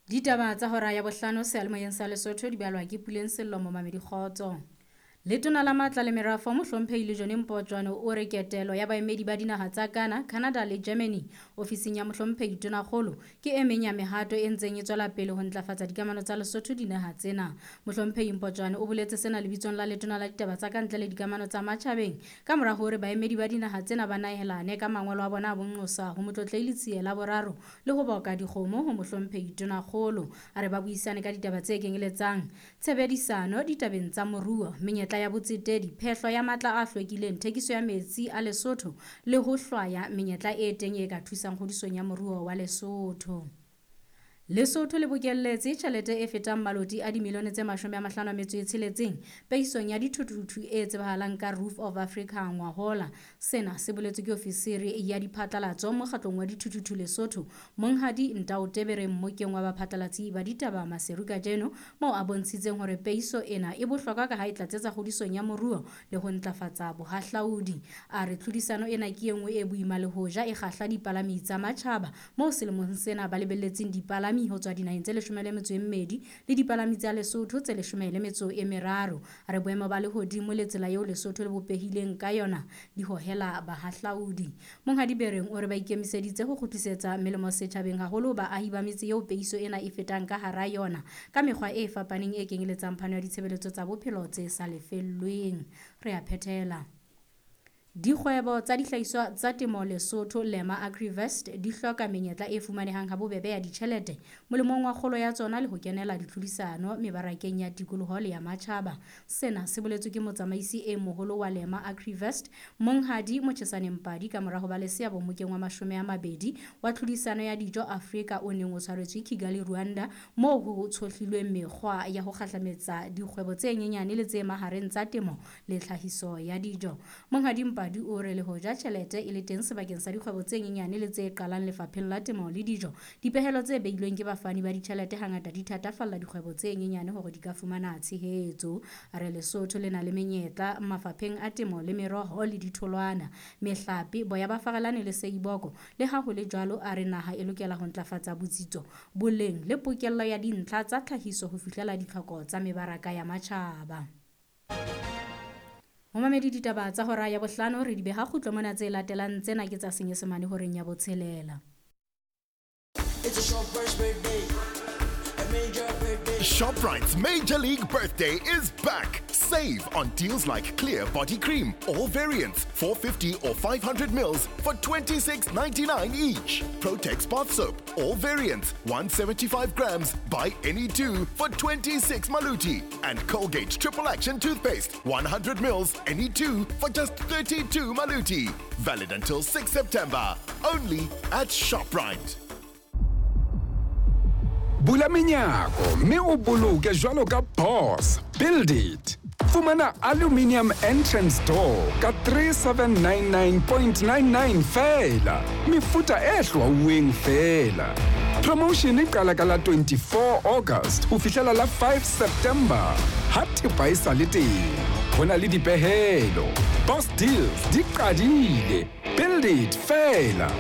Ditaba tsa hora ya bohlano seyalemoyeng sa Lesotho di balwa ke Puleng Sello Momamedi Kgotso. Letona la Matla le Merafo Mohlomphehi Lejone Mpotjwane o re ketelo ya baemedi ba dinaha tsa Ghana, Canada le Germany ofising ya Mohlomphehi Tonakgolo ke e meng ya mehato e ntseng e tswela pele ho ntlafatsa dikamano tsa Lesotho dinaha tsena. Mohlomphehi Mpotjwane o boletse sena lebitsong la Letona la Ditaba tsa Kantle le Dikamano tsa Matjhabeng ka mora hore baemedi ba dinaha tsena ba nahelane ka mangolo a bona a bonqosa ho Motlotlehi Letsie la boraro le ho boka dikgomo ho Mohlomphehi Tonakgolo. A re ba buisane ka ditaba tse kenyeletsang tshebedisano ditabeng tsa moruo, menyetla ya botsetedi, phehlo ya matla a hlwekileng, thekiso ya metsi a Lesotho le ho hlwaya menyetla e teng e ka thusang kgodisong ya moruo wa Lesotho. Lesotho le bokelletse tjhelete e fetang maloti a dimilione tse 56 peisong ya dithuthuthu e tsebahalang ka Roof of Africa ngwahola. Sena se boletswe ke ofisiri ya diphatlalatso mokgatlong wa dithuthuthu Lesotho, Monghadi Ntao Tebere mmokeng wa baphatlalatsi ba ditaba Maseru kajeno, moo a bontshitseng hore peiso ena e bohlokwa ka ha e tlatsetsa kgodisong ya moruo le ho ntlafatsa bohahlaudi. A re tlhodisano ena ke e nngwe e boima le hoja e kgahla dipalami tsa matjhaba, moo selemong sena ba lebelletseng dipalami ho tswa dinaheng tse 12 le dipalami tsa Lesotho tse 13. A re boemo ba lehodimo le tsela eo Lesotho le bopehileng ka yona di hohela bahahlaudi. Monghadi Bereng o re ba ikemiseditse ho kgutlisetsa melemo setjhabeng haholo baahi ba metse eo peiso ena e fetang ka hara yona ka mekgwa e fapaneng e kenyeletsang phano ya ditshebeletso tsa bophelo tse sa lefellweng. Re a phethela. Dikgwebo tsa dihlahiswa tsa temo Lesotho, Lema Agrivest, di hloka menyetla e fumanehang habobebe ya ditjhelete molemong wa kgolo ya tsona le ho kenela ditlhodisano mebarakeng ya tikoloho le ya matjhaba. Sena se boletswe ke motsamaisi e moholo wa Lema Agrivest, Monghadi Mochesane Mpadi ka mora ho ba le seabo mmokeng wa 20 wa tlhodisano ya dijo Afrika o neng o tshwaretswe Kigali, Rwanda, moo ho tshohlilweng mekgwa ya ho kgahlametsa dikgwebo tse nyenyane le tse mahareng tsa temo le tlhahiso ya dijo. Monghadi Mpadi o re le hoja tjhelete e le teng sebakeng sa dikgwebo tse nyenyane le tse qalang lefapheng la temo le dijo, dipehelo tse beilweng ke bafani ba ditjhelete hangata di thatafalla dikgwebo tse nyenyane hore di ka fumana tshehetso. A re Lesotho le na le menyetla mafapheng a temo le meroho le ditholwana, mehlape, boya ba farelane le seiboko. Le ha ho le jwalo, a re naha e lokela ho ntlafatsa botsitso, boleng le pokello ya dintlha tsa tlhahiso ho fihlela ditlhoko tsa mebaraka ya matjhaba. Momamedi ditaba tsa hora ya bohlano re di beha kgutlo mona tse latelang tsena ke tsa Senyesemane horeng ya botshelela. It's a Shoprite's birthday. A major birthday. ShopRite's Major League Birthday is back. Save on deals like Clear Body Cream, all variants, 450 or 500 mils for $26.99 each. Protex Bath Soap, all variants, 175 grams, buy any two for 26 maluti. And Colgate Triple Action Toothpaste, 100 mils, any two for just 32 maluti. Valid until 6 September. Only at ShopRite. Bula menyako mme o boloke jwalo ka boss. Build it. Fumana aluminium entrance door ka 3799.99 feela. Mefuta e hlwauweng feela. Promotion e qala ka la 24 August ho fihlela la 5 September. Ha thepa e sa le teng. Ho na le dipehelo. Boss deals di qadile. Build it feela.